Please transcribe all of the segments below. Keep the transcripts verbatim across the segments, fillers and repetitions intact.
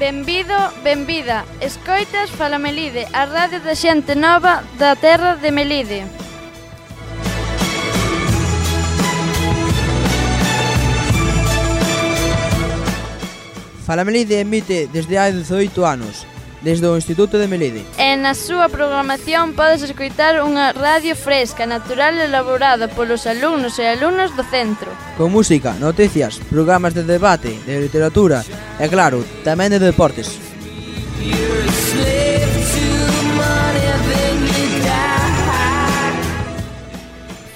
Benvido, benvida. Escoitas Fala Melide, a radio da xente nova da terra de Melide. Fala Melide emite desde hai dezoito anos, desde o Instituto de Melide. E na súa programación podes escoitar unha radio fresca, natural e elaborada polos alumnos e alumnas do centro. Con música, noticias, programas de debate, de literatura e, claro, tamén de deportes.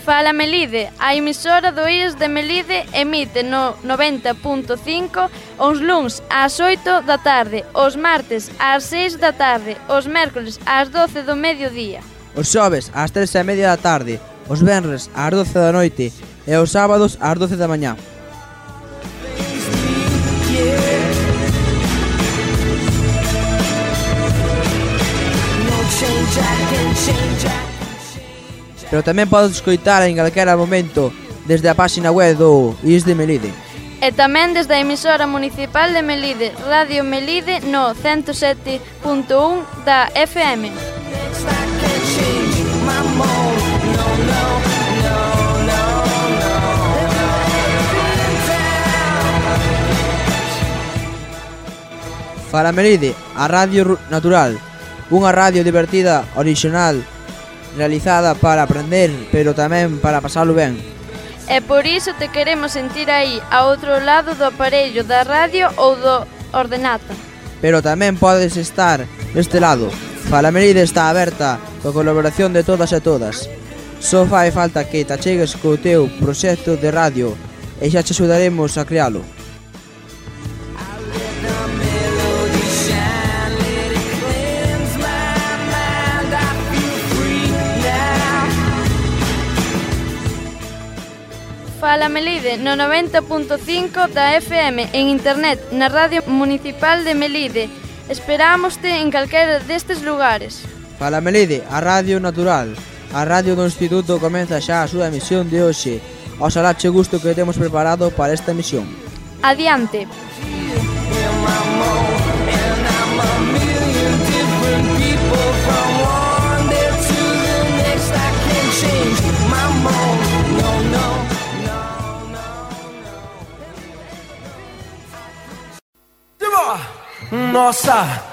Fala Melide, a emisora do I E S de Melide emite no noventa punto cinco os luns ás oito da tarde, os martes ás seis da tarde, os mércoles ás doce do mediodía. Os xoves ás tres e media da tarde, os venres ás doce da noite e os sábados ás doce da mañá. Pero tamén podes escoitar en calquera momento desde a páxina web do I E S de Melide. E tamén desde a emisora municipal de Melide, Radio Melide no ciento sete punto un da F M. Fala Melide, a radio natural, unha radio divertida, orixinal, realizada para aprender, pero tamén para pasalo ben. E por iso te queremos sentir aí, a outro lado do aparello da radio ou do ordenata. Pero tamén podes estar deste lado. Fala Melide está aberta coa colaboración de todas e todas. Só fai falta que te achegues co teu proxecto de radio e xa te axudaremos a crealo. Fala Melide no noventa punto cinco da F M en internet na Radio Municipal de Melide. Esperámoste en calquera destes lugares. Fala Melide, a radio natural. A radio do Instituto comeza xa a súa emisión de hoxe. Oxalá che gusto que temos preparado para esta emisión. Adiante. Nossa,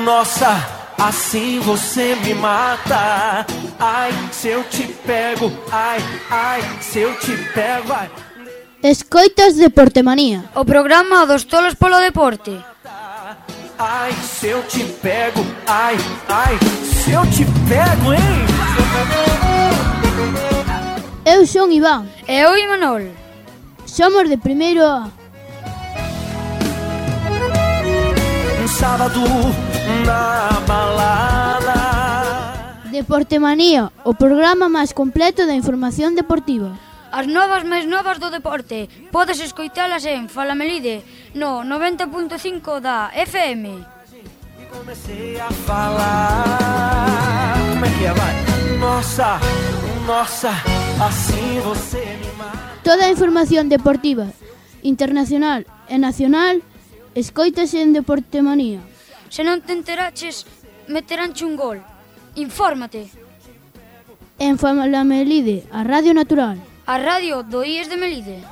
nossa, assim você me mata. Ai, se eu te pego, ai, ai, se eu te pego, ai. Escoitas Deportemanía, o programa dos tolos polo deporte. Ai, se eu te pego, ai, ai, se eu te pego, hein? Eu son Iván. E eu Imanol. Somos de primeiro A. Sábado na balada. Deportemanía, o programa máis completo da información deportiva. As novas máis novas do deporte podes escoitalas en Fala Melide no noventa punto cinco da F M. E comecei a falar. Como é que é, vai? Nossa, nossa, assim você me mata. Toda a información deportiva, internacional e nacional, escoítase en Deportemanía. Se non te enteraches, meteránche un gol. Infórmate. En Fala Melide, a radio natural. A radio do I E S de Melide.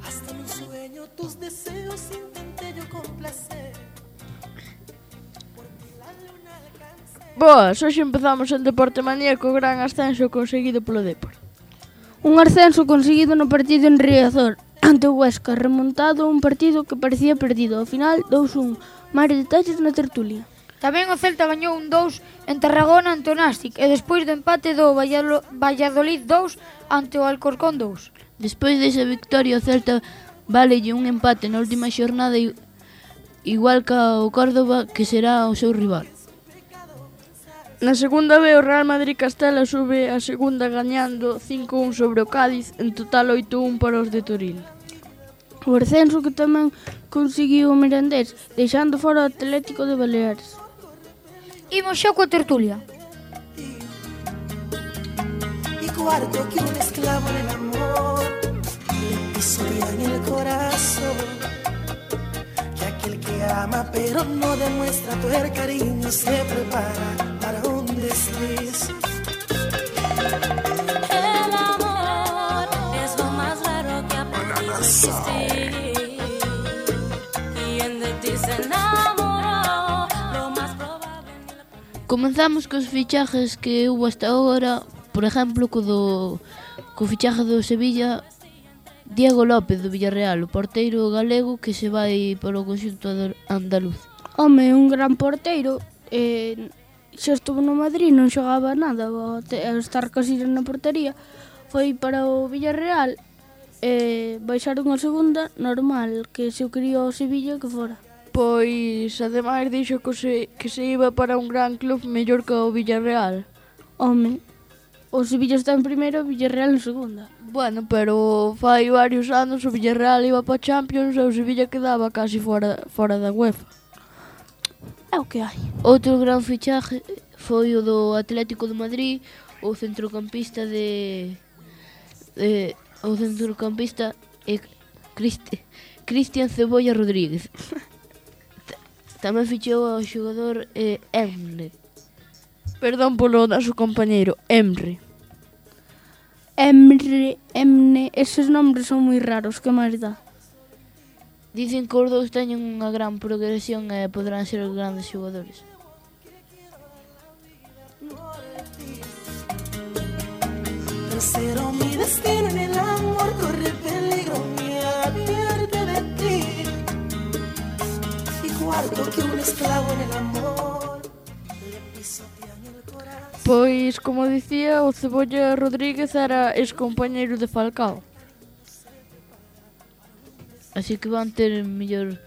Hasta en un sueño tus deseos intenté yo complacer. Boas, hoxe empezamos en Deportemanía co gran ascenso conseguido polo Depor. Un ascenso conseguido no partido en Riazor ante o Huesca, remontado un partido que parecía perdido. Ao final, dous un. Máis detalles na tertulia. Tamén o Celta gañou un dous en Tarragona ante o Nástic e despois do empate do Valladolid dous ante o Alcorcón dous. Despois desa victoria o Celta válelle un empate na última xornada igual que o Córdoba, que será o seu rival. Na segunda B, o Real Madrid Castela sube a segunda gañando cinco un sobre o Cádiz, en total oito un para os de Toril. O ascenso que tamén conseguiu o Mirandés, deixando fora o Atlético de Baleares. Imos xa coa tertulia. Y guardo que un esclavo en el amor le pisotean el corazón. Que aquel que ama pero no demuestra todo el cariño se prepara para un desliz. El amor es lo más raro que ha podido existir. Quien de ti se enamoró, lo más probable. Comenzamos cos fichajes que hubo hasta agora. Por exemplo, co do co fichaje do Sevilla, Diego López do Villarreal, o porteiro galego que se vai para o conxunto andaluz. Home, un gran porteiro, eh, xa estuvo no Madrid, non xogaba nada, ao estar Casillas na portería, foi para o Villarreal, eh, baixaron a segunda, normal, que se o quería o Sevilla que fora. Pois, ademais, dixo que se, que se iba para un gran club mellor que o Villarreal. Home, o Sevilla está en primeiro e o Villarreal en segunda. Bueno, pero fai varios anos o Villarreal iba para Champions e o Sevilla quedaba casi fora, fora da UEFA. É o que hai. Outro gran fichaje foi o do Atlético de Madrid, o centrocampista de... de o centrocampista é Cristi, Cristian Cebolla Rodríguez. Tamén fichou o xogador eh, Emre. Perdón polo noso compañeiro, Emre. Emre, Emne, eses nombres son moi raros, que máis dá? Dicen que os dous teñen unha gran progresión e poderán ser os grandes xogadores. Tercero, mi destino en el amor corre peligro, me advierte de ti. Y guardo que un esclavo en el amor le pisotean el corazón. Pois, como dicía, o Cebolla Rodríguez era ex-compañeiro de Falcao. Así que van ter mellor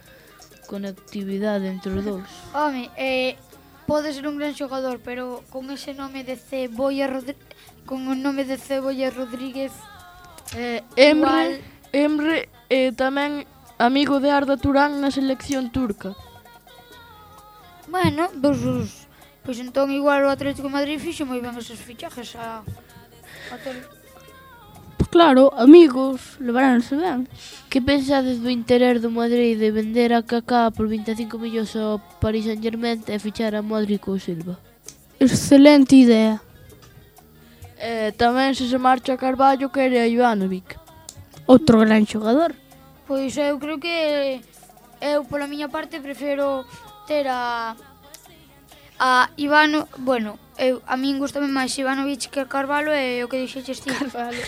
conectividade entre os dous. Home, eh, pode ser un gran xogador, pero con ese nome de Cebolla Rodríguez, con o nome de Cebolla Rodríguez, eh, Emre, Emre eh, tamén amigo de Arda Turán na selección turca. Bueno, dos os... Pois entón igual o Atlético de Madrid fixo moi ben esos fichajes a... a ter... Claro, amigos, levaranse ben. Que pensades do interés do Madrid de vender a Kaká por vinte e cinco millóns ao Paris Saint-Germain e fichar a Modric ou Silva? Excelente idea. Eh, tamén se se marcha Carballo quere a Ivanovic. Outro gran xogador. Pois eu creo que eu pola miña parte prefiro ter a a Ivano, bueno, eu a min gustame máis Ivanovic que Carvalho e o que dixeches ti. Carvalho.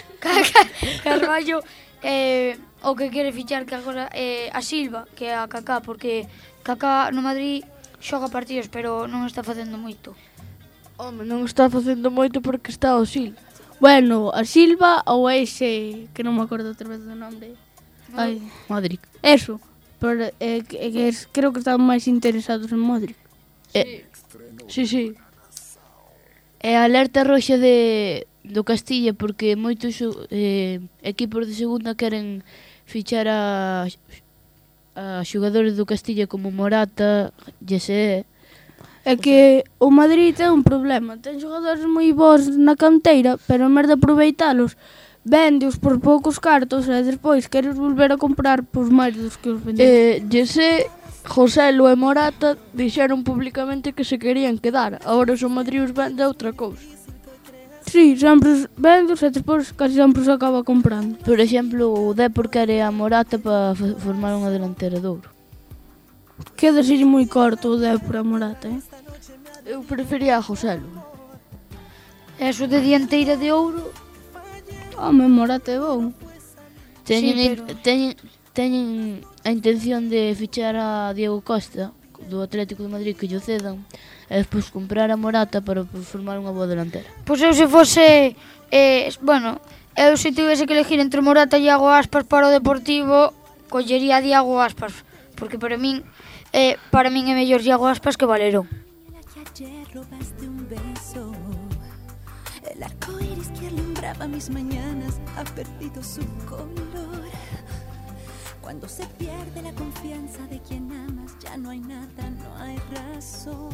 Carvalho eh, o que quere fichar que agora eh, a Silva, que é a Kaká, porque Kaká no Madrid xoga partidos, pero non está facendo moito. Home, non está facendo moito porque está o Sil. Bueno, a Silva ou ese, que non me acordo outra vez do nome. Ai, Modric. Eso, pero eh, que, que es, creo que están máis interesados en Modric. Sí. Sí, sí. É alerta roxa de do Castilla porque moitos eh, equipos de segunda queren fichar a, a xogadores do Castilla como Morata, Jesse. É que o Madrid ten un problema, ten xogadores moi bons na canteira, pero en vez de aproveitalos, vendeos por poucos cartos e despois queres volver a comprar por máis dos que os vendeu. Eh, Jesse, Joselu e Morata dixeron públicamente que se querían quedar. Agora o Madrid os vende outra cousa. Sí, sempre os vende e despois casi sempre os acaba comprando. Por exemplo, o Depor quere a Morata para formar unha delantera de ouro. Queda ser moi corto o Depor a Morata, eh? Eu prefería a Joselu. Eso de dianteira de ouro... Home, Morata é bom. Teñen, Sí, pero... teñen, teñen a intención de fichar a Diego Costa do Atlético de Madrid que lle cedan e despois comprar a Morata para formar unha boa delantera. Pois eu se fose, eh, bueno, eu se tivese que elegir entre Morata e Iago Aspas para o Deportivo, collería a Iago Aspas, porque para min, eh, para min é mellor Iago Aspas que Valerón. Ayer robaste un beso. alumbraba mis mañanas ha perdido su color. Cuando se pierde la confianza de quien amas, ya no hay nada, no hay razón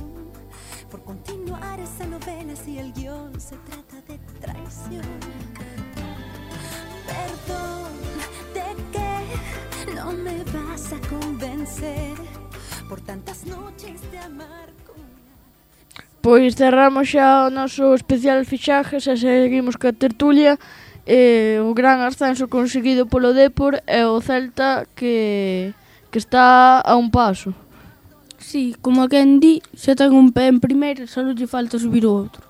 por continuar esa novela si el guión se trata de traición. Perdón, ¿de qué no me vas a convencer por tantas noches de amar con... Pois cerramos xa o noso especial fichajes e seguimos ca tertulia. Eh, o gran ascenso conseguido polo Dépor e o Celta que, que está a un paso. Sí, como a quen di, xa ten un pé en primeira, só lle falta subir o outro.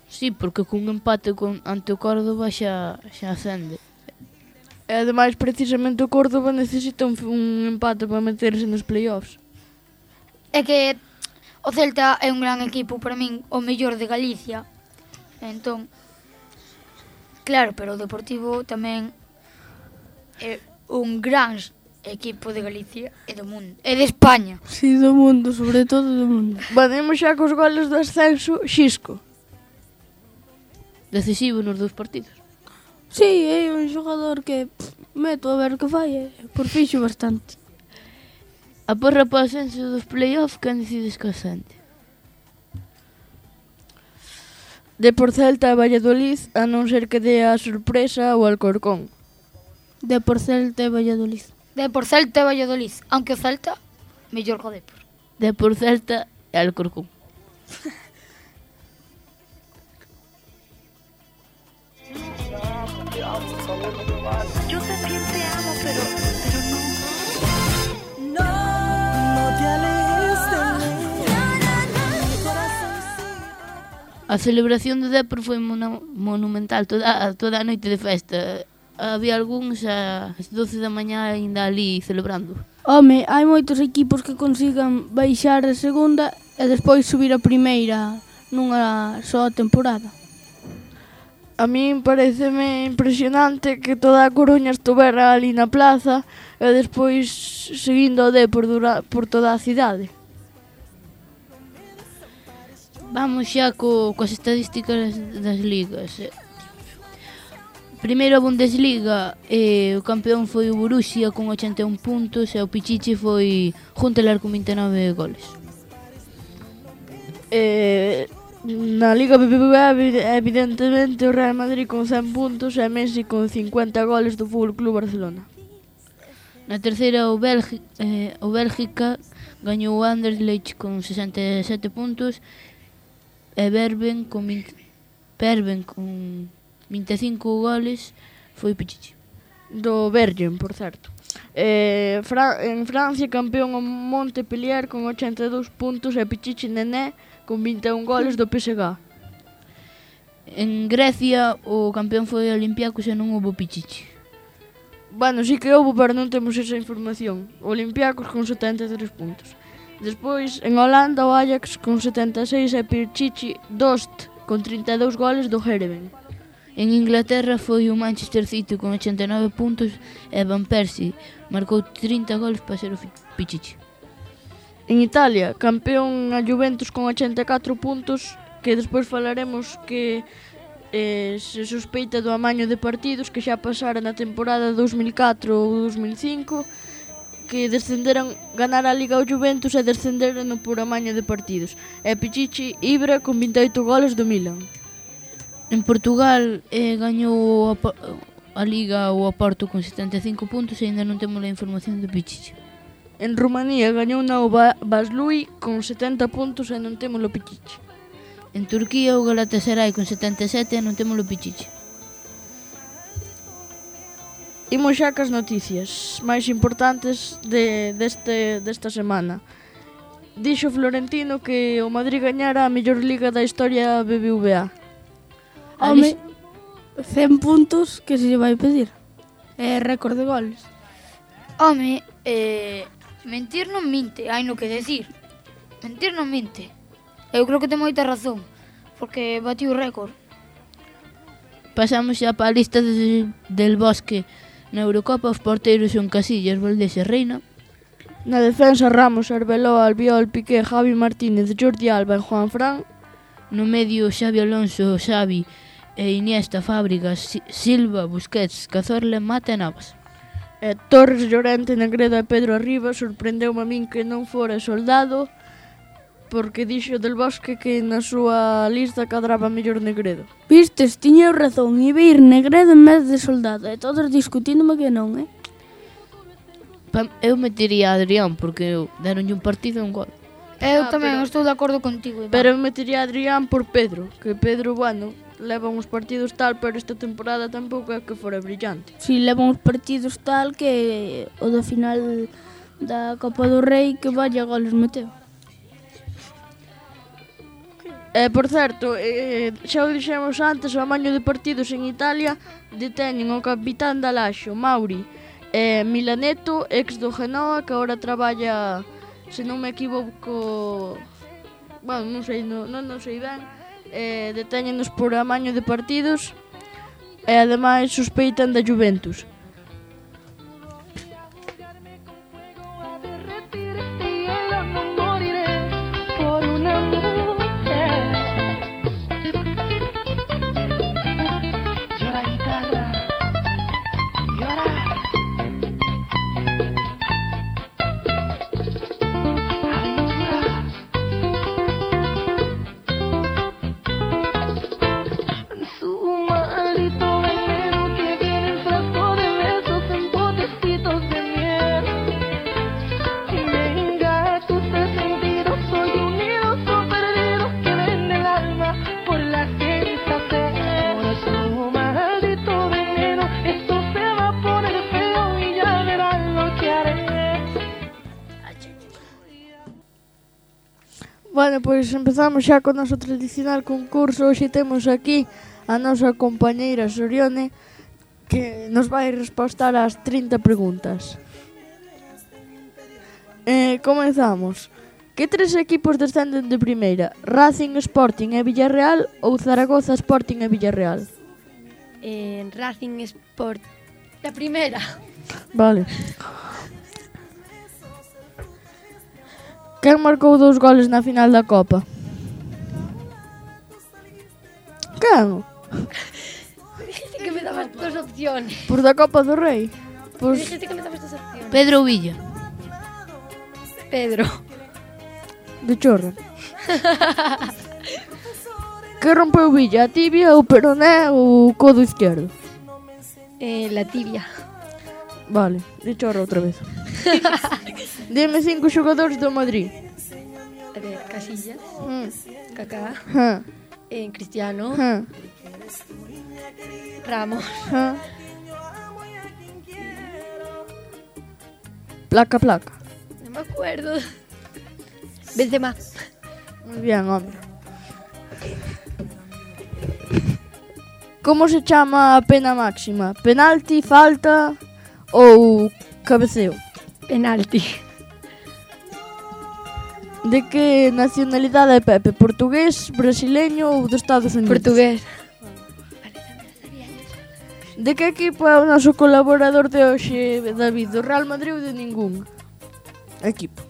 Sí, porque cun empate con, ante o Córdoba xa, xa ascende. E ademais, precisamente o Córdoba necesita un, un empate para meterse nos playoffs. É que o Celta é un gran equipo, para min, o mellor de Galicia. Entón, claro, pero o Deportivo tamén é un gran equipo de Galicia e do mundo, e de España. Sí, do mundo, sobre todo do mundo. Vanemos xa cos goles do ascenso, Xisco. Decisivo nos dous partidos. Sí, é un xogador que pff, meto a ver que fai, e por fixo bastante. A porra para o ascenso dos playoff, quen decides que ascende? De por Celta e Valladolid, a non ser que dé a sorpresa o Alcorcón. De por Celta e Valladolid. De por Celta e Valladolid, aunque o Celta, mellor que o Depor. De por Celta e Alcorcón. Yo también te amo, pero, pero no. No, no te alejes de mí. Mi corazón sigue. A celebración do Dépor foi mona- monumental toda, toda a noite de festa. Había algúns ás doce da mañá ainda ali celebrando. Home, hai moitos equipos que consigan baixar a segunda e despois subir a primeira nunha soa temporada. A min pareceme impresionante que toda a Coruña estuvera ali na plaza e despois seguindo o Dépor dura, por toda a cidade. Vamos xa co, coas estadísticas das ligas. Primeiro a Bundesliga, eh, o campeón foi o Borussia con ochenta e un puntos e o Pichichi foi Juntelar con vinte e nove goles. Eh, na Liga B B V A, evidentemente, o Real Madrid con cen puntos e Messi con cincuenta goles do Fútbol Club Barcelona. Na terceira o, Belgi, eh, o Bélgica gañou o Anderlecht con sesenta e sete puntos e Berben con vinte, Berben con vinte e cinco goles foi Pichichi. Do Bergen, por certo. Eh, Fra en Francia, campeón o Montpellier con ochenta e dous puntos e Pichichi Nené con vinte e un goles do P S G. En Grecia o campeón foi o Olympiacos e non houbo Pichichi. Bueno, sí que houve, pero non temos esa información. O Olympiacos con setenta e tres puntos. Despois, en Holanda, o Ajax con setenta e seis e Pichichi Dost con trinta e dous goles do Heerenveen. En Inglaterra foi o Manchester City con ochenta e nove puntos e Van Persie marcou trinta goles para ser o Pichichi. En Italia, campeón a Juventus con ochenta e catro puntos, que despois falaremos que eh, se sospeita do amaño de partidos que xa pasara na temporada dos mil catro ou dos mil cinco, que descenderan, ganar a Liga o Juventus e descenderan por amaño de partidos. E Pichichi Ibra con vinte e oito goles do Milan. En Portugal eh, gañou a, a Liga o Oporto con setenta e cinco puntos e ainda non temos a información do Pichichi. En Rumanía gañou na o Vaslui con setenta puntos e non temos o Pichichi. En Turquía o Galatasaray con setenta e sete e non temos o Pichichi. Imos xa cas noticias máis importantes de, deste, desta semana. Dixo Florentino que o Madrid gañara a mellor liga da historia B B V A. Home, cen puntos que se lle vai pedir. É récord de goles. Home, eh, mentir non minte, hai no que decir. Mentir non minte. Eu creo que ten moita razón, porque bati o récord. Pasamos xa para a lista de, del Bosque. Na Eurocopa os porteiros son Casillas, Valdés e Reina. Na defensa Ramos, Arbeloa, Albiol, Piqué, Javi Martínez, Jordi Alba e Juan Fran. No medio Xavi Alonso, Xavi e Iniesta, Fábregas, Silva, Busquets, Cazorla, Mata e Navas. E Torres, Llorente, Negredo e Pedro Arriba sorprendeu-me a min que non fora Soldado, porque dixo Del Bosque que na súa lista cadraba mellor Negredo. Vistes, tiña razón, iba a ir Negredo en vez de Soldado, e todos discutíndome que non, eh? Eu metería a Adrián, porque deronlle un partido e un gol. Eu Ah, tamén pero- estou de acordo contigo, Iván. Pero eu metería a Adrián por Pedro, que Pedro, bueno, leva uns partidos tal, pero esta temporada tampouco é que fora brillante. Si levan uns partidos tal que o da final da Copa do Rei que vaya goles meteu. E, por certo, eh, xa o dixemos antes, o amaño de partidos en Italia deteñen o capitán da Laxo, Mauri, e Milaneto, ex do Genoa, que agora traballa, se non me equivoco, bueno, non sei, non, non, non sei ben, eh, deteñenos por amaño de partidos e ademais sospeitan da Juventus. Bueno, pois empezamos xa co noso tradicional concurso. Hoxe temos aquí a nosa compañeira Sorione, que nos vai respostar ás trinta preguntas. Eh, comezamos. Que tres equipos descenden de primeira? Racing, Sporting e Villarreal ou Zaragoza, Sporting e Villarreal? En Racing Sport. La primera. Vale. Quen marcou dous goles na final da Copa? Quen? Dijiste que me dabas dos opciones. Por da Copa do Rei? Pois Dijiste que me dabas dos opciones. Pedro Villa. Pedro. de chorro. Que rompeu Villa? A tibia, o peroné ou o codo izquierdo? Eh, la tibia. Vale, de chorro outra vez. Dime cinco xogadores do Madrid. A ver, Casillas, Mm. Kaká, Ja, eh, Cristiano, ja, Ramos, ja. Placa, placa. no me acuerdo. Benzema. Muy bien, hombre. Como se chama a pena máxima? Penalti, falta ou cabeceo? Penalti. De que nacionalidade é Pepe? Portugués, brasileño ou dos Estados Unidos? Portugués. De que equipo é o noso colaborador de hoxe, David? Do Real Madrid ou de ningún equipo?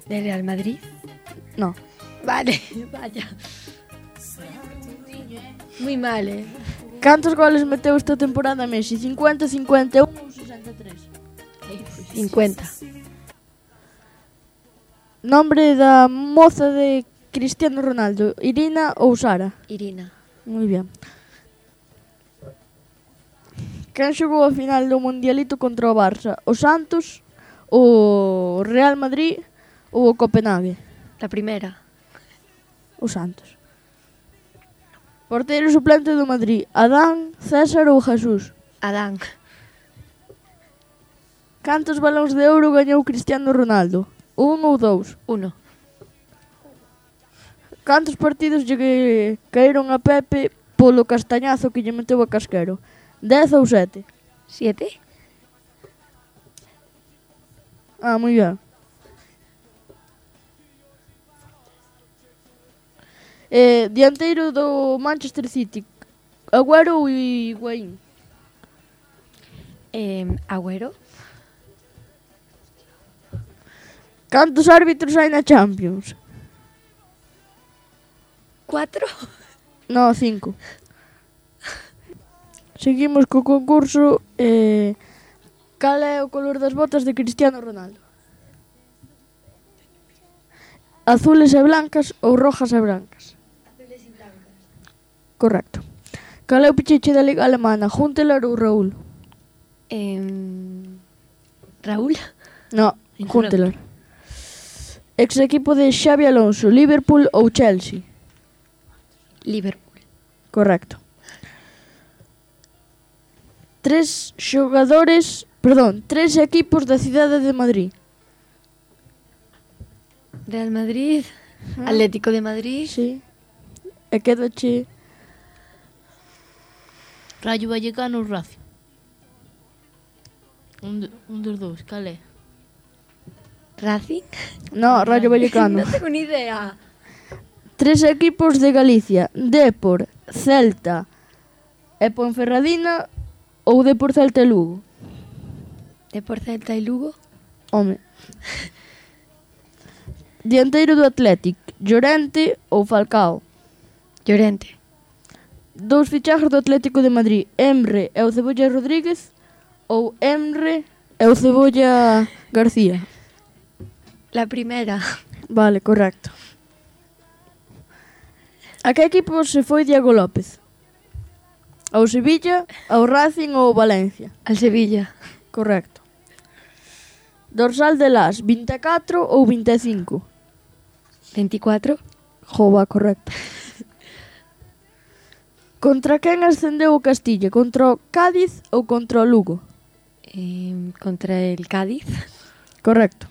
¿De Real Madrid? No. Vale, vaya. Muy mal, eh. Cantos goles meteu esta temporada Messi? cincuenta, cincuenta e un ou sesenta e tres? cincuenta. Nombre da moza de Cristiano Ronaldo, Irina ou Sara? Irina. Muy bien. Quen xogou a final do Mundialito contra o Barça? O Santos, o Real Madrid ou o Copenhague? La primera. O Santos. Porteiro suplente do Madrid, Adán, César ou Jesús? Adán. Cantos balóns de ouro gañou Cristiano Ronaldo? Un ou dous? Uno. Cantos partidos lle que- caeron a Pepe polo castañazo que lle meteu a Casquero? Dez ou sete? Siete. Ah, moi ben. Eh, dianteiro do Manchester City, Agüero ou Higuaín? Eh, Agüero. Cantos árbitros hai na Champions? Cuatro. No, cinco. seguimos co concurso. Eh, cal é o color das botas de Cristiano Ronaldo? Azules e blancas ou rojas e brancas? Azules e blancas. Correcto. Cal é o pichiche da Liga Alemana? Huntelaar ou Raúl? Eh, Raúl? No, Huntelaar. Ex equipo de Xabi Alonso, Liverpool ou Chelsea? Liverpool. Correcto. Tres xogadores, perdón, tres equipos da cidade de Madrid. Real Madrid, Atlético de Madrid. Sí. E quedache Rayo Vallecano ou Racing? Un, de, un dos dous, cal é? Racing. No, Rayo Vallecano. Non tengo ni idea. Tres equipos de Galicia, Depor, Celta e Ponferradina ou Depor, Celta e Lugo? Depor, Celta e Lugo. Home. Dianteiro do Athletic, Llorente ou Falcao? Llorente. Dous fichajes do Atlético de Madrid, Emre e o Cebolla Rodríguez ou Emre e o Cebolla García? La primera. Vale, correcto. A que equipo se foi Diego López? Ao Sevilla, ao Racing ou ao Valencia? Al Sevilla. Correcto. Dorsal de las, vinte e catro ou vinte e cinco? veinticuatro. Jova, correcto. Contra quen ascendeu o Castilla? Contra o Cádiz ou contra o Lugo? Eh, contra el Cádiz. Correcto.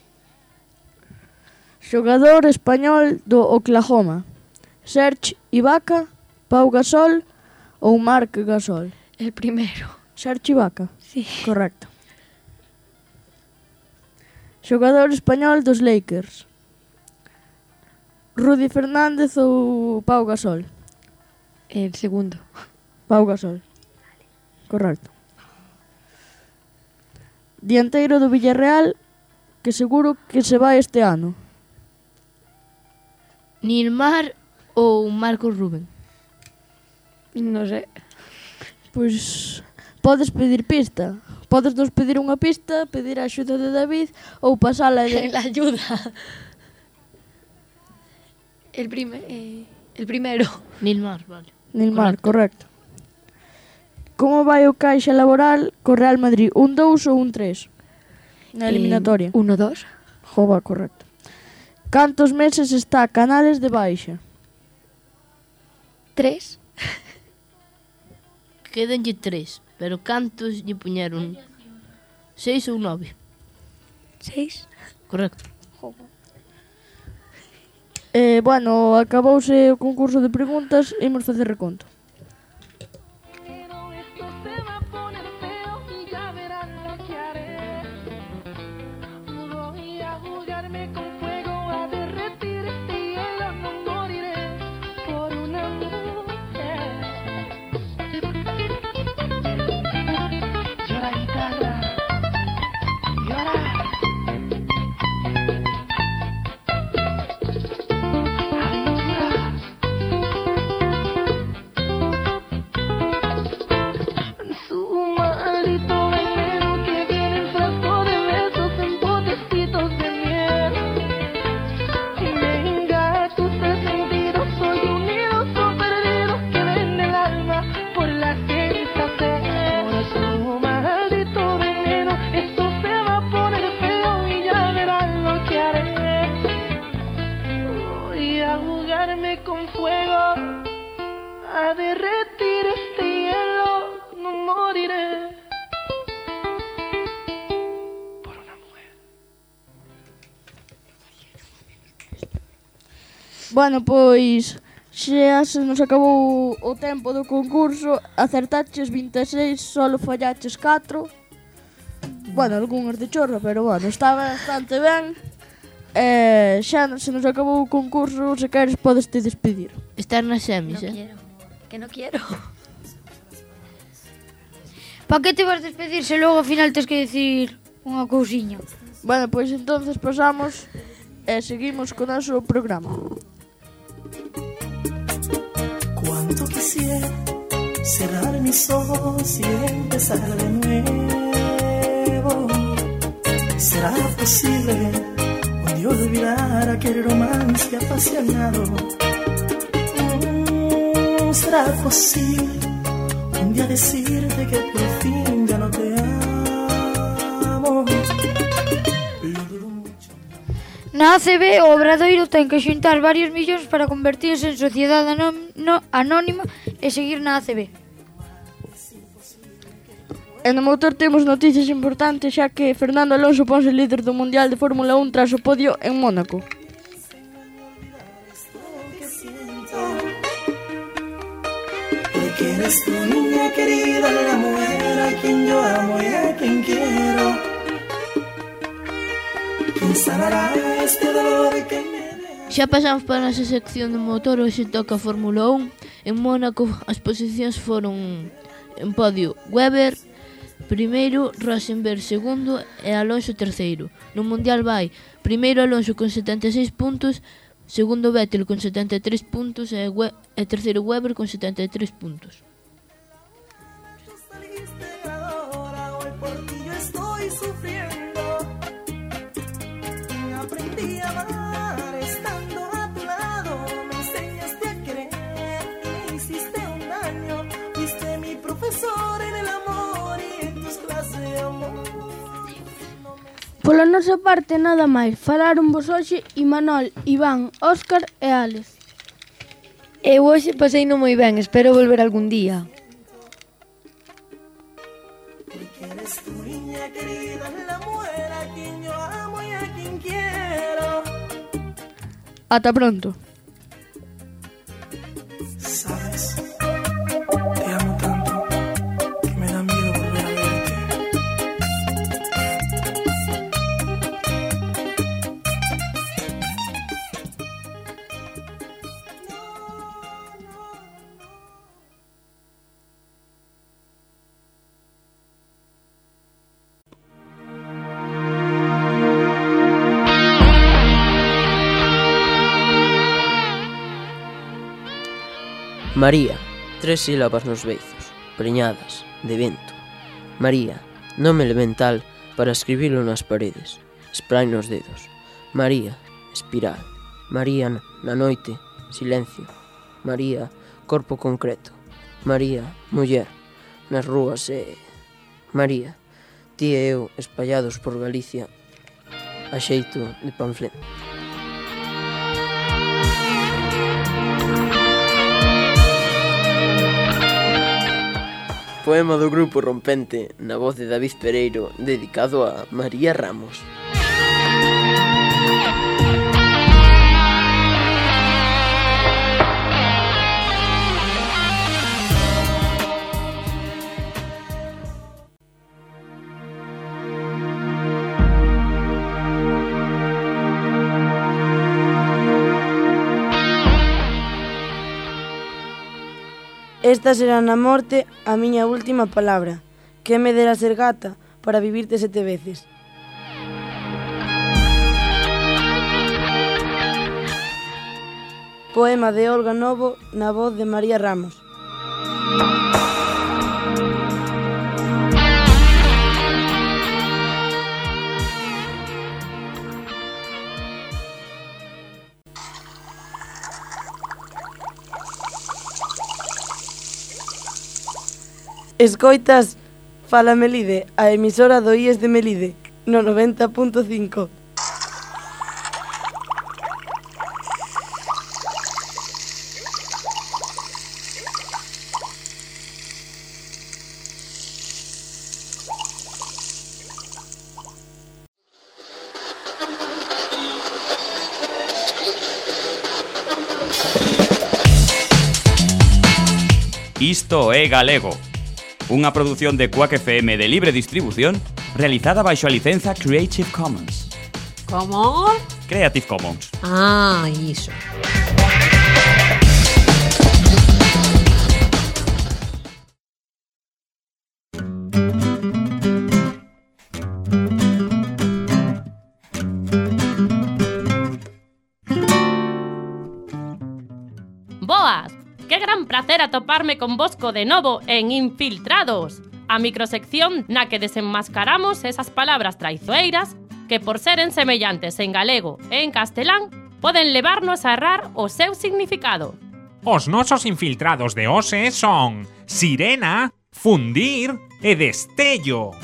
Xogador español do Oklahoma, Serge Ibaka, Pau Gasol ou Marc Gasol? El primero. Serge Ibaka. Sí. Correcto. Xogador español dos Lakers, Rudy Fernández ou Pau Gasol? El segundo. Pau Gasol. Correcto. Dianteiro do Villarreal que seguro que se vai este ano. Neymar ou Marcos Rubén? No sé. Pois podes pedir pista. Podes nos pedir unha pista, pedir a axuda de David ou pasala de... La ayuda. El, prime, eh, el primero. Neymar, vale. Neymar, correcto. Como vai o caixa laboral co Real Madrid? Un dous ou un tres? Na eliminatoria. Eh, uno, dos. Jova, correcto. Cantos meses está Canales de baixa? Tres. Quedanlle tres, pero cantos lle puñeron? Seis ou nove? Seis. Correcto. Eh, bueno, acabouse o concurso de preguntas, imos facer reconto. Con fuego a derretir este hielo, no moriré por una mujer. Bueno, pois xa se nos acabou o tempo do concurso. Acertaches vinte e seis, solo fallaches catro. Bueno, algúns de chorra, pero bueno, estaba bastante ben. Eh, xa se nos acabou o concurso, se queres podes te despedir. Estar nas semis, No eh? quiero. Que no quiero. Pa que te vas despedir se logo ao final tes que decir unha cousiña? Bueno, pois entonces pasamos e seguimos co noso programa. Cuánto quisiera cerrar mis ojos y empezar de nuevo. ¿Será posible un día olvidar aquel romance apasionado? Mm, ¿Será posible un día decirte que por fin ya no te amo? Na A C B, o Obradoiro ten que xuntar varios millóns para convertirse en sociedade no, anónima e seguir na A C B. E no motor temos noticias importantes, xa que Fernando Alonso ponse líder do Mundial de Fórmula un tras o podio en Mónaco. Porque eres tu niña querida, la mujer a quien yo amo y a quien quiero. ¿Quién sanará este dolor que me deja? Xa pasamos para a nosa sección de motor, hoxe toca Fórmula un. En Mónaco as posicións foron en podio Weber primeiro, Rosenberg segundo e Alonso terceiro. No Mundial vai primeiro Alonso con setenta e seis puntos, segundo Vettel con setenta e tres puntos e, We- e terceiro Weber con setenta e tres puntos. Pola nosa parte nada máis. Falaron vos hoxe Imanol, Iván, Óscar e Alex. Eu hoxe paseino moi ben, espero volver algún día. Porque eres tu niña querida, la mujer a quien yo amo y a quien quiero. Ata pronto. Sabes, te amo tanto que me da miedo volver a verte. María, tres sílabas nos beizos, preñadas, de vento. María, nome elemental para escribilo nas paredes, spray nos dedos. María, espiral. María, na noite, silencio. María, corpo concreto. María, muller, nas rúas e... María, ti e eu espallados por Galicia a xeito de panfleto. Poema do grupo Rompente na voz de David Pereiro, dedicado a María Ramos. Esta será na morte a miña última palabra, que me dera ser gata para vivirte sete veces. Poema de Olga Novo na voz de María Ramos. Escoitas Fala Melide, a emisora do I E S de Melide, no noventa punto cinco. Isto é Galego, unha produción de Quack F M de libre distribución realizada baixo a licenza Creative Commons. Como? Creative Commons. Ah, iso. prazer atoparme con vosco de novo en Infiltrados, a microsección na que desenmascaramos esas palabras traizoeiras que por seren semellantes en galego e en castelán poden levarnos a errar o seu significado. Os nosos infiltrados de hoxe son sirena, fundir e destello.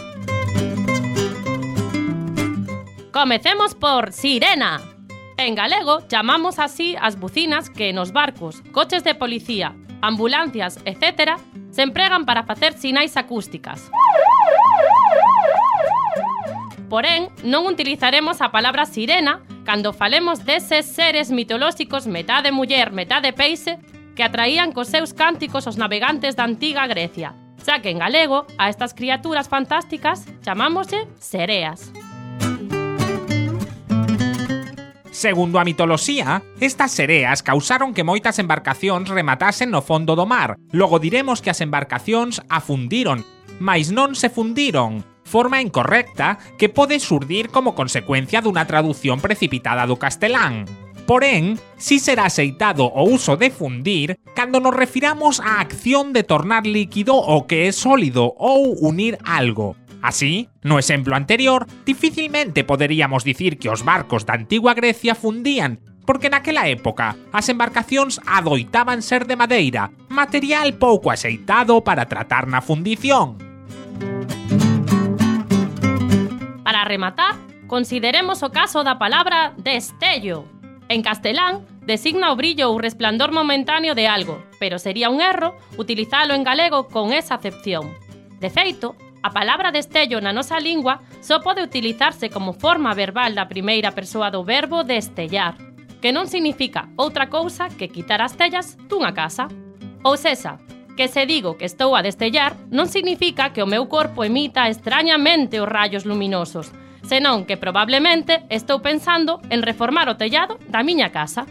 Comecemos por sirena. En galego chamamos así as bucinas que nos barcos, coches de policía, ambulancias, etcétera, se empregan para facer sinais acústicas. Porén, non utilizaremos a palabra sirena cando falemos deses seres mitolóxicos metade muller, metade peixe que atraían cos seus cánticos os navegantes da antiga Grecia, xa que en galego a estas criaturas fantásticas chamámoslle sereas. Segundo a mitoloxía, estas sereas causaron que moitas embarcacións rematasen no fondo do mar. Logo diremos que as embarcacións afundiron, mais non se fundiron, forma incorrecta que pode xurdir como consecuencia dunha traducción precipitada do castelán. Porén, si será aceitado o uso de fundir cando nos refiramos á acción de tornar líquido o que é sólido ou unir algo. Así, no exemplo anterior, dificilmente poderíamos dicir que os barcos da antigua Grecia fundían, porque naquela época as embarcacións adoitaban ser de madeira, material pouco axeitado para tratar na fundición. Para rematar, consideremos o caso da palabra destello. En castelán, designa o brillo ou resplandor momentáneo de algo, pero sería un erro utilizalo en galego con esa acepción. De feito, a palabra destello na nosa lingua só pode utilizarse como forma verbal da primeira persoa do verbo destellar, que non significa outra cousa que quitar as tellas dunha casa. Ou sexa, que se digo que estou a destellar non significa que o meu corpo emita extrañamente os rayos luminosos, senón que probablemente estou pensando en reformar o tellado da miña casa.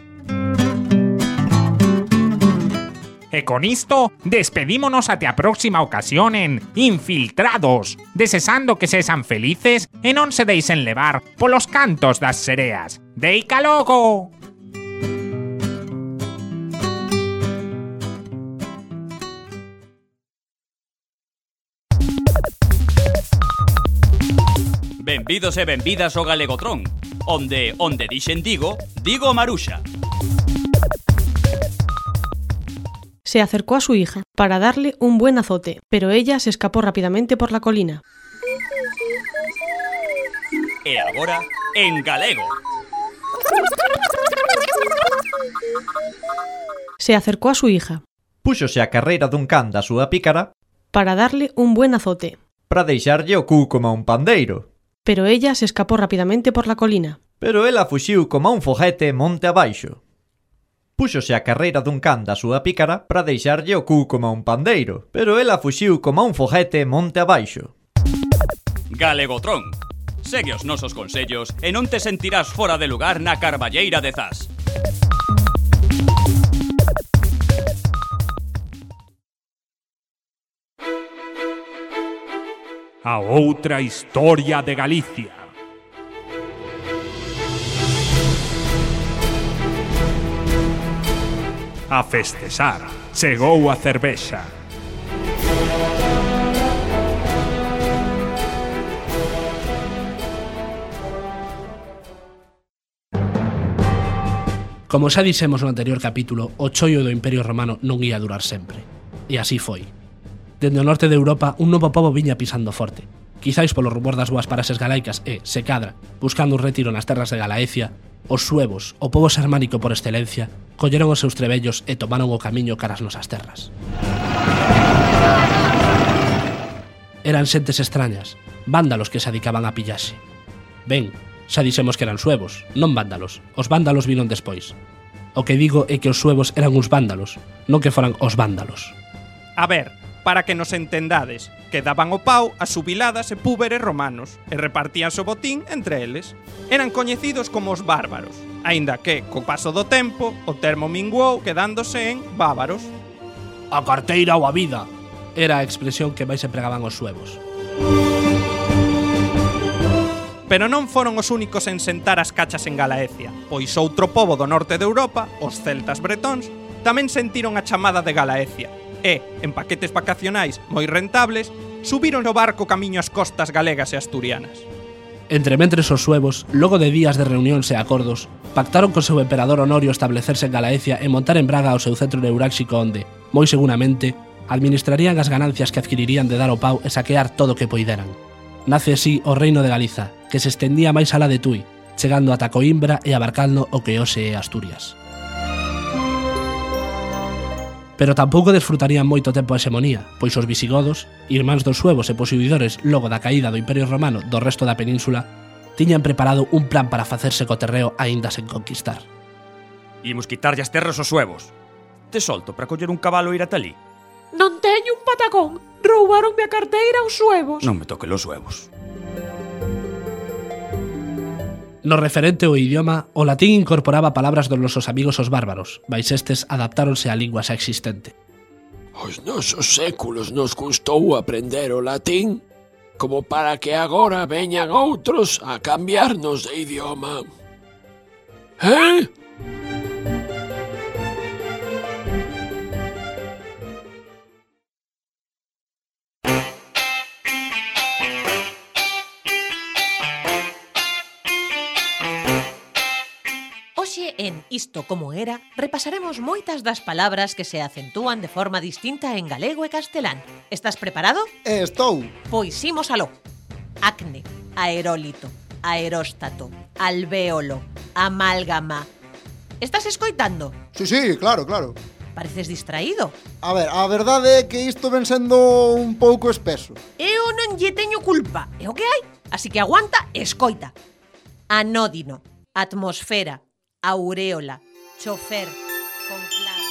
E con isto, despedímonos até a próxima ocasión en Infiltrados, desexando que sexan felices e non se deixen levar polos cantos das sereas. Deica logo! Benvidos e benvidas ao Galegotrón, onde, onde dixen digo, digo Maruxa. Se acercó a su hija para darle un buen azote, pero ella se escapó rápidamente por la colina. E agora, en galego. Se acercó a su hija. Púxose a carreira dun can da súa pícara para darle un buen azote, para deixarlle o cu como un pandeiro. Pero ella se escapó rápidamente por la colina. Pero ela fuxiu como un foguete monte abaixo. Púxose a carreira dun can da súa pícara para deixarlle o cu como un pandeiro, pero ela fuxiu como un foguete monte abaixo. Galegotrón. Segue os nosos consellos e non te sentirás fora de lugar na Carballeira de Zas. A outra historia de Galicia. A festexar, chegou a cervexa. Como xa dixemos no anterior capítulo, o choio do Imperio Romano non ia durar sempre. E así foi. Dende o norte de Europa, un novo pobo viña pisando forte. Quizáis polo rumor das boas paraxes galaicas e, se cadra, buscando un retiro nas terras de Galaecia, os suevos, o pobo xermánico por excelencia, colleron os seus trebellos e tomaron o camiño caras nosas terras. Eran xentes extrañas, vándalos que se dedicaban a pillaxe. Ben, xa dixemos que eran suevos, non vándalos. Os vándalos vinon despois. O que digo é que os suevos eran uns vándalos, non que foran os vándalos. A ver, para que nos entendades, que daban o pau a subiladas e púberes romanos e repartían o botín entre eles. Eran coñecidos como os bárbaros, aínda que, co paso do tempo, o termo minguou quedándose en bávaros. A carteira ou a vida era a expresión que máis empregaban os suevos. Pero non foron os únicos en sentar as cachas en Galaecia, pois outro pobo do norte de Europa, os celtas bretóns, tamén sentiron a chamada de Galaecia e, en paquetes vacacionais moi rentables, subiron o barco camiño ás costas galegas e asturianas. Entrementres os suevos, logo de días de reunións e acordos, pactaron co seu emperador Honorio establecerse en Galaecia e montar en Braga o seu centro neuráxico onde, moi seguramente, administrarían as ganancias que adquirirían de dar o pau e saquear todo o que poideran. Nace así o reino de Galiza, que se estendía máis alá de Tui, chegando ata Coimbra e abarcando o que hoxe é Asturias. Pero tampouco desfrutarían moito tempo a hexemonía, pois os visigodos, irmáns dos suevos e posuidores logo da caída do Imperio Romano do resto da península, tiñan preparado un plan para facerse co terreo aínda sen conquistar. Imos quitarlle as terras aos suevos. Te solto para coller un cabalo e ir ata ali. Non teño un patacón. Roubaronme a carteira aos suevos. Non me toque los suevos. No referente ao idioma, o latín incorporaba palabras dos nosos amigos os bárbaros, mais estes adaptáronse á lingua xa existente. Os nosos séculos nos custou aprender o latín, como para que agora veñan outros a cambiarnos de idioma. Eh? En Isto como era, repasaremos moitas das palabras que se acentúan de forma distinta en galego e castelán. Estás preparado? Estou. Pois imos aló. Acne, aerólito, aeróstato, alvéolo, amálgama. Estás escoitando? Sí, sí, claro, claro. Pareces distraído. A ver, a verdade é que isto ven sendo un pouco espeso. Eu non lle teño culpa, é o que hai. Así que aguanta e escoita. Anódino, atmosfera, auréola, chofer, conclave.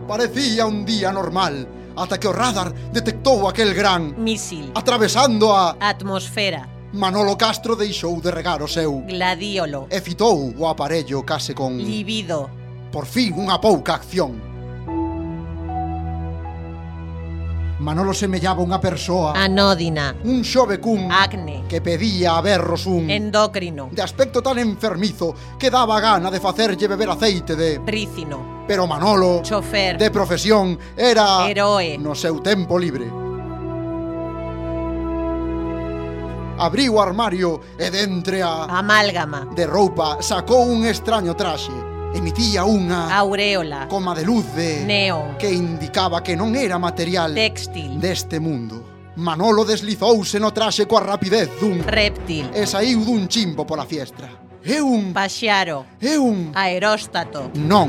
Parecía un día normal, ata que o radar detectou aquel gran misil atravesando a atmosfera. Manolo Castro deixou de regar o seu gladiolo e fitou o aparello case con libido. Por fin unha pouca acción. Manolo semellaba unha persoa anódina, un xove cun acne que pedía a berros un endócrino de aspecto tan enfermizo que daba gana de facerlle beber aceite de rícino. Pero Manolo, chofer de profesión, era heroe no seu tempo libre. Abriu o armario e dentre a amálgama de roupa sacou un extraño traxe. Emitía unha auréola coma de luz de neón que indicaba que non era material textil deste mundo. Manolo deslizouse no traxe coa rapidez dun reptil e saiu dun chimbo pola fiestra. É un paxiaro, é un aeróstato. Non,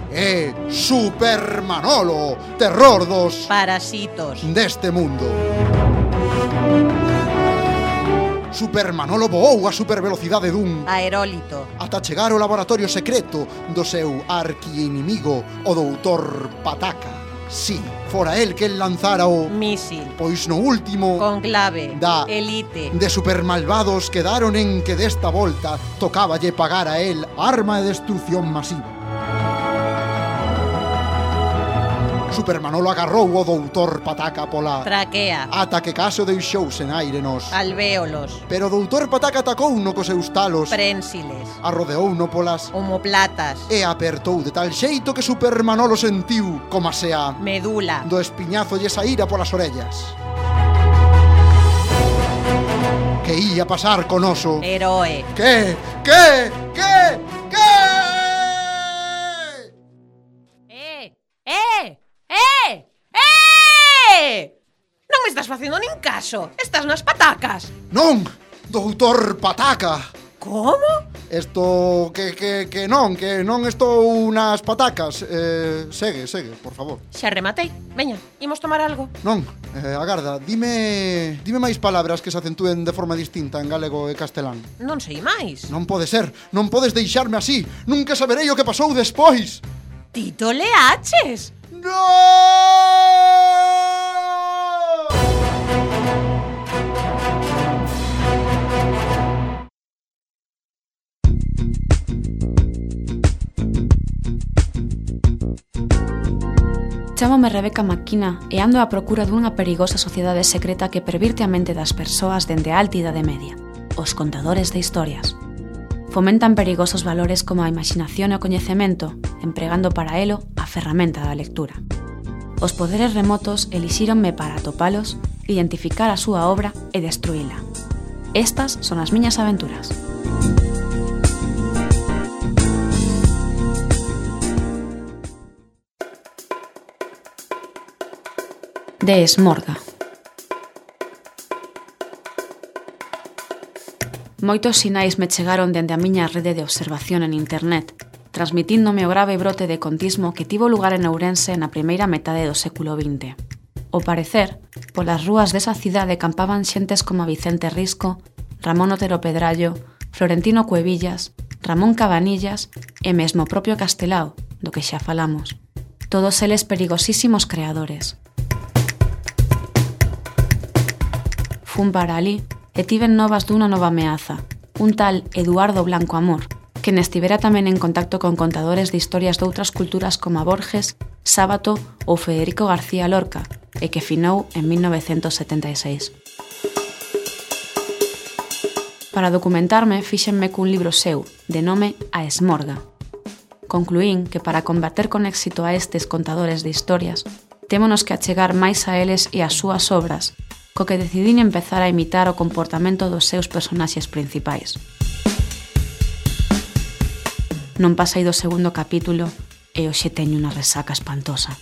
é Super Manolo, terror dos parasitos deste mundo. Super Manolo voou a supervelocidade dun aerólito ata chegar ao laboratorio secreto do seu arquiinimigo, o doutor Pataca. Sí, fora el que lanzara o misil, pois no último conclave da elite de supermalvados quedaron en que desta volta tocáballe pagar a el arma de destrucción masiva. Super Manolo agarrou o doutor Pataca pola traquea ata que caso deixou sen aire nos alvéolos. Pero o doutor Pataca atacou no cos seus talos prensiles, arrodeou no polas omoplatas e apertou de tal xeito que Super Manolo sentiu como se a medula do espiñazo lle saíra polas orellas. Que ia pasar con oso heroe. Que? Que? Que? Que? Eh, eh Eh! Eh! Non me estás facendo nin caso. Estás nas patacas. Non, doutor Pataca. Como? Esto que, que, que non, que non estou nas patacas. eh, Segue, segue, por favor. Xa rematei. Veña, imos tomar algo. Non, eh, agarda, dime Dime máis palabras que se acentúen de forma distinta en galego e castelán. Non sei máis. Non pode ser, non podes deixarme así. Nunca saberei o que pasou despois. Tito Leaches. ¡No! Chámome Rebeca Maquina e ando á procura dunha perigosa sociedade secreta que pervirte a mente das persoas dende a alta idade media, os contadores de historias. Fomentan perigosos valores como a imaginación e o coñecemento, empregando para elo a ferramenta da lectura. Os poderes remotos elixíronme para atopalos, identificar a súa obra e destruíla. Estas son as miñas aventuras. De Esmorga. Moitos sinais me chegaron dende a miña rede de observación en internet, transmitíndome o grave brote de contismo que tivo lugar en Ourense na primeira metade do século vinte. Ao parecer, polas rúas desa cidade campaban xentes como Vicente Risco, Ramón Otero Pedrallo, Florentino Cuevillas, Ramón Cabanillas e mesmo o propio Castelao, do que xa falamos. Todos eles perigosísimos creadores. Fun para alí e tiven novas dunha nova ameaza, un tal Eduardo Blanco Amor, que nestivera tamén en contacto con contadores de historias de outras culturas como Borges, Sábato ou Federico García Lorca, e que finou en mil novecentos setenta e seis. Para documentarme, fíxenme cun libro seu, de nome A Esmorga. Concluín que para combater con éxito a estes contadores de historias, témonos que achegar máis a eles e ás súas obras, co que decidín empezar a imitar o comportamento dos seus personaxes principais. Non pasei do segundo capítulo e hoxe teño unha resaca espantosa.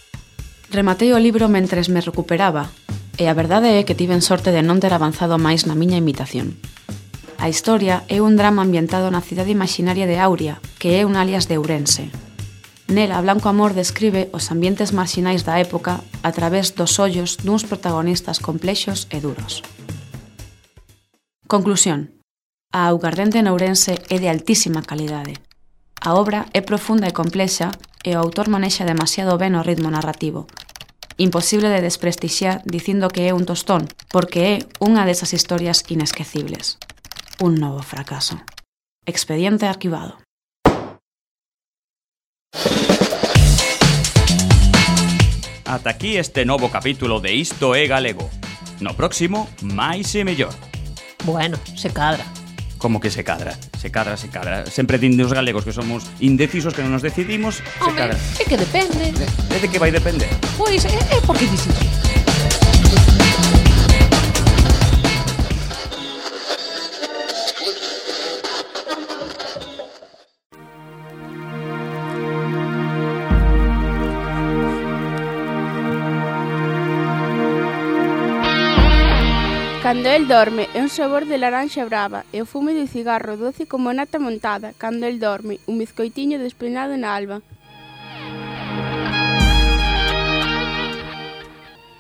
Rematei o libro mentres me recuperaba e a verdade é que tiven sorte de non ter avanzado máis na miña imitación. A historia é un drama ambientado na cidade imaginaria de Auria, que é un alias de Ourense. Nela, Blanco Amor describe os ambientes marxinais da época a través dos ollos duns protagonistas complexos e duros. Conclusión. A augardente en Ourense é de altísima calidade. A obra é profunda e complexa e o autor manexa demasiado ben o ritmo narrativo. Imposible de desprestixiar dicindo que é un tostón, porque é unha desas historias inesquecibles. Un novo fracaso. Expediente arquivado. Ata aquí este novo capítulo de Isto é Galego. No próximo, máis e mellor. Bueno, se cadra. Como que se cadra? Se cadra, se cadra. Sempre din os galegos que somos indecisos, que non nos decidimos, se Hombre, cadra. é que depende. É de que vai depender? Pois é, é porque dices. Cando el dorme é un sabor de laranxa brava e o fume do cigarro doce como nata montada. Cando el dorme, un bizcoitiño despeinado na alba.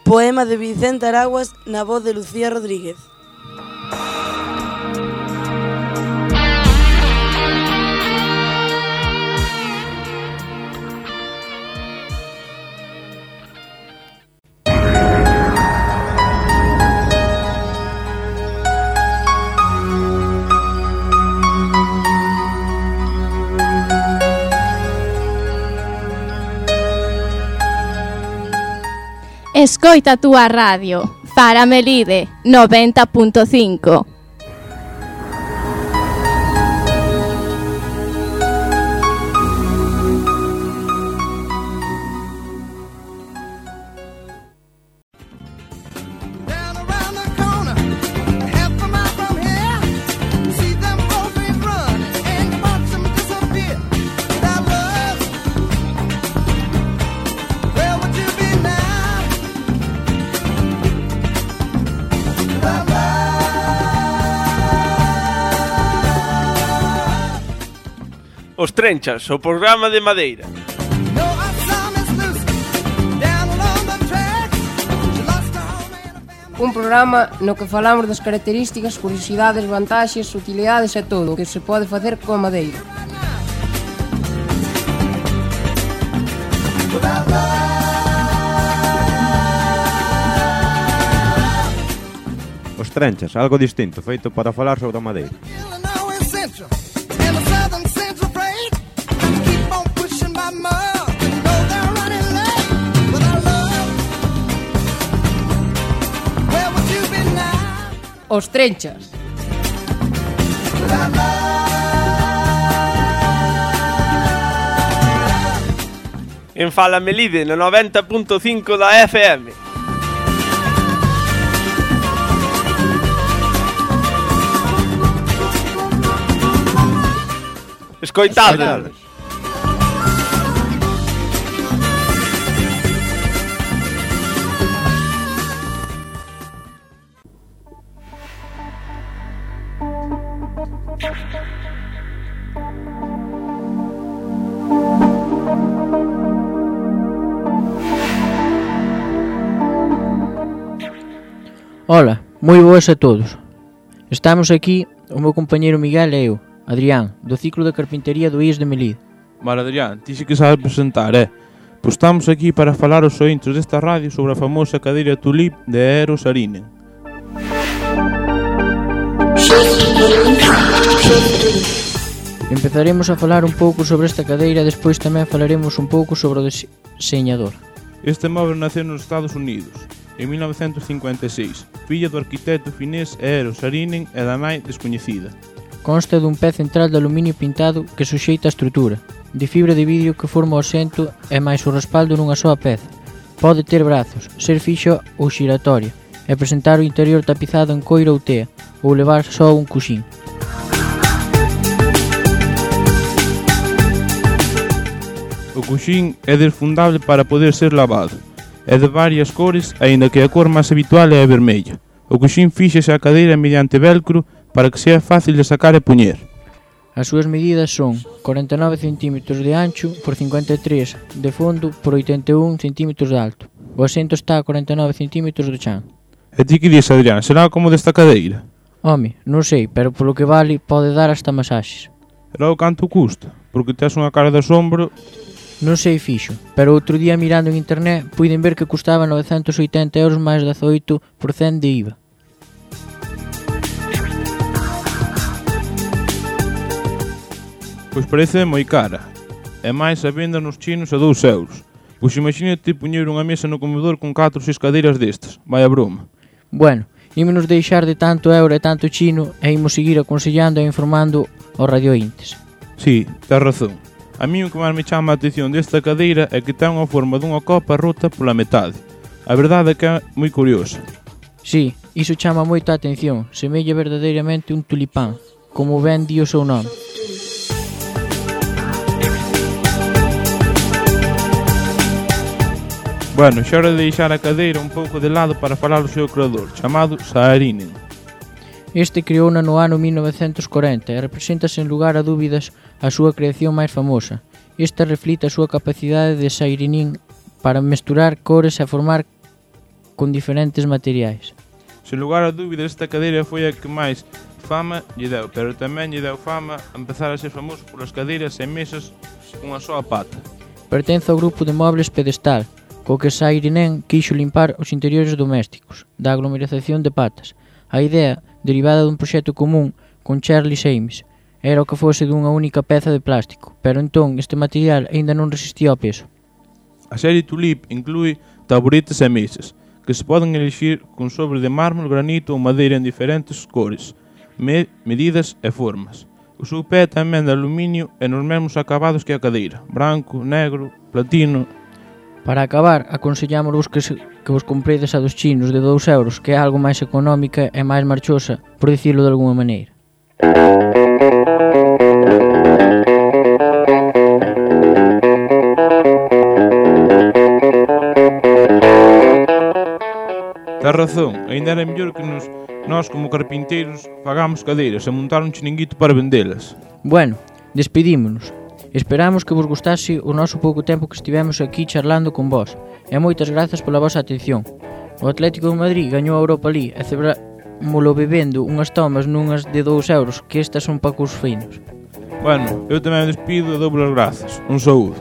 Poema de Vicente Araguas na voz de Lucía Rodríguez. Escoita a túa radio, para Melide, noventa punto cinco. Os Trenchas, o programa de Madeira. Un programa no que falamos das características, curiosidades, vantaxes, utilidades e todo o que se pode facer coa madeira. Os Trenchas, algo distinto, feito para falar sobre a madeira. But I love os Trenchas. En Fala Melide, no noventa punto cinco da F M. Escoitade. Ola, moi boas a todos. Estamos aquí o meu compañeiro Miguel e eu, Adrián, do ciclo de carpintería do I E S de Melide. Vale, Adrián, ti sí que sabes presentar, eh? Pois estamos aquí para falar aos ointes desta radio sobre a famosa cadeira Tulip de Eero Saarinen. Empezaremos a falar un pouco sobre esta cadeira e despois tamén falaremos un pouco sobre o deseñador. Este móvel naceu nos Estados Unidos en mil novecentos cincuenta e seis, filla do arquitecto finés Eero Saarinen e da nai descoñecida. Consta dun pé central de aluminio pintado que suxeita a estrutura, de fibra de vidro que forma o asento e máis o respaldo nunha soa peza. Pode ter brazos, ser fixo ou xiratoria, e presentar o interior tapizado en coiro ou tea, ou levar só un cuxín. O cuxín é desfundable para poder ser lavado. É de varias cores, aínda que a cor máis habitual é a vermella. O cuxín fíxese a cadeira mediante velcro para que sea fácil de sacar e poñer. As súas medidas son corenta e nove centímetros de ancho por cincuenta e tres de fondo por oitenta e un centímetros de alto. O asento está a corenta e nove centímetros do chan. E ti que dis, Adrián, será como desta cadeira? Home, non sei, pero polo que vale pode dar hasta masaxes. E logo canto custa? Porque tes unha cara de asombro. Non sei fixo, pero outro día mirando en internet puiden ver que custaba novecentos e oitenta euros máis dezaoito por cento de I V A. Pois parece moi cara. E máis a venda nos chinos a dous euros. Pois imagínate poñer unha mesa no comedor con catro ou seis cadeiras destas. Vai a broma. Bueno, ímonos deixar de tanto euro e tanto chino e imos seguir aconsellando e informando aos radiointes. Si, tens razón. A mí o que máis me chama a atención desta cadeira é que ten unha forma dunha copa rota pola metade. A verdade é que é moi curiosa. Si, iso chama moito a atención. Semella verdadeiramente un tulipán, como ben di o seu nome. Bueno, xa hora de deixar a cadeira un pouco de lado para falar do seu creador, chamado Saarinen. Este creouna no ano mil novecentos corenta e representa sen lugar a dúbidas a súa creación máis famosa. Esta reflite a súa capacidade de Saarinen para mesturar cores e formar con diferentes materiais. Sen lugar a dúbidas, esta cadeira foi a que máis fama lle deu, pero tamén lle deu fama a empezar a ser famoso polas cadeiras e mesas cunha soa pata. Pertence ao grupo de mobles pedestal, co que Saarinen quixo limpar os interiores domésticos da aglomeración de patas. A idea, derivada dun proxecto común con Charlie James, era o que fose dunha única peza de plástico, pero entón este material aínda non resistía ao peso. A serie Tulip inclúe taburetes e mesas, que se poden elixir con sobre de mármol, granito ou madeira en diferentes cores, me medidas e formas. O seu pé tamén de aluminio e nos mesmos acabados que a cadeira, branco, negro, platino. Para acabar, aconsellámosvos que, se, que vos compredes a dos chinos de dous euros, que é algo máis económica e máis marchosa, por dicirlo de alguma maneira. Tens razón, ainda era mellor que nos, nós como carpinteiros fagamos cadeiras e montar un chiringuito para vendelas. Bueno, despedímonos. Esperamos que vos gustase o noso pouco tempo que estivemos aquí charlando con vós e moitas grazas pola vosa atención. O Atlético de Madrid gañou a Europa League e celebrámolo bebendo unhas tomas nunhas de dous euros, que estas son pacos finos. Bueno, eu tamén me despido e dou as grazas. Un saúdo.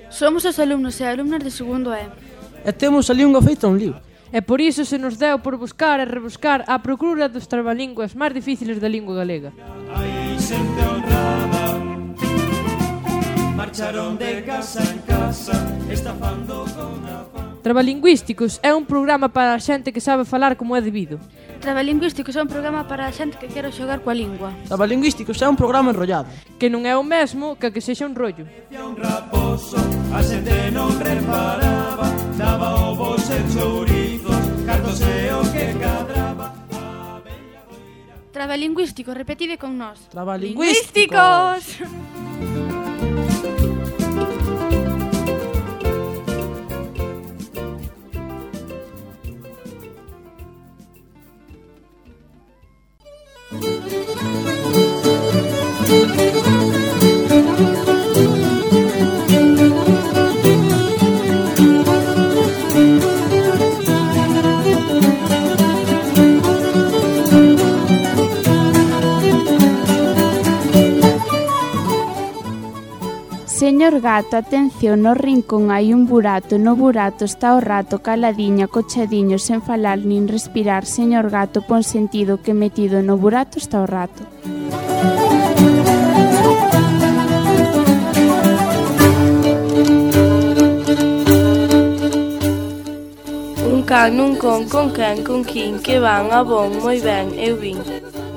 Somos os alumnos e alumnas de segundo E. E temos ali unha feita un libro. E por iso se nos deu por buscar e rebuscar a procura dos trabalingües máis difíciles da lingua galega. Hai xente honrada, marcharon de casa en casa, estafando con afán. Trabalingüísticos é un programa para a xente que sabe falar como é debido. Trabalingüísticos é un programa para a xente que quere xogar coa lingua. Trabalingüísticos é un programa enrollado, que non é o mesmo que que sexa un rollo. Un raposo, a xente non reparaba, daba ovos e chourizos, cartos e o que cadraba. Trabalingüísticos, repetide con nós. Trabalingüísticos. Señor gato, atención, no rincón hai un burato, no burato está o rato, caladiño, acochadiño, sen falar nin respirar. Señor gato, pon sentido que metido no burato está o rato. Un can nun con, con quen, con quin, que van, a bon, moi ben, eu vin.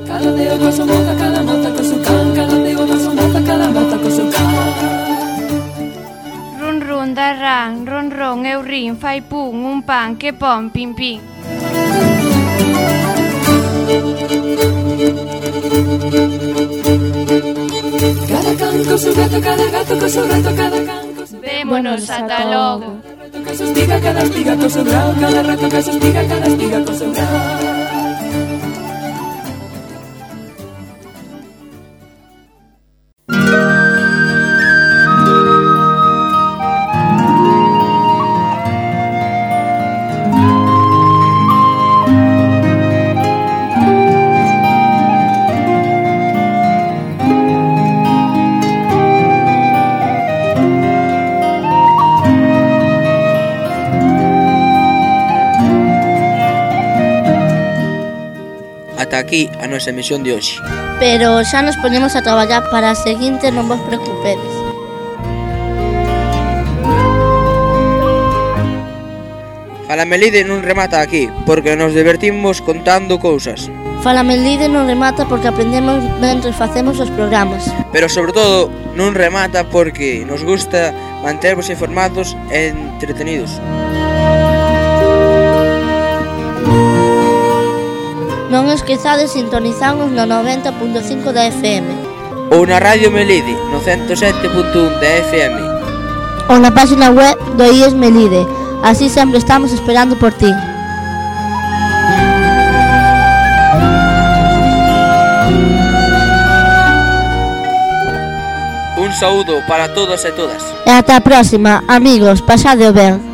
Cada deo con su boca, cada nota con su can, cada deo con su boca, cada nota con su can. Run run, da ran, ron ron, eu rin, fai pum, un pan, que pon, pim pim. Cada can con su gato, cada gato con su gato, cada can con su... Vémonos, ata logo. Cada su espiga, cada espiga con su grau, cada rato que su espiga, cada espiga con su grau. Ata aquí a nosa emisión de hoxe. Pero xa nos ponemos a traballar para a seguinte, non vos preocupedes. Fala Melide non remata aquí, porque nos divertimos contando cousas. Fala Melide non remata porque aprendemos mentre facemos os programas. Pero sobre todo non remata porque nos gusta mantervos informados e entretenidos. Non esquezades sintonizarnos no noventa punto cinco da F M. Ou na Radio Melide, no ciento sete punto un da F M. Ou na página web do I E S Melide. Así sempre estamos esperando por ti. Un saúdo para todos e todas. E ata a próxima, amigos, pasadeo ben.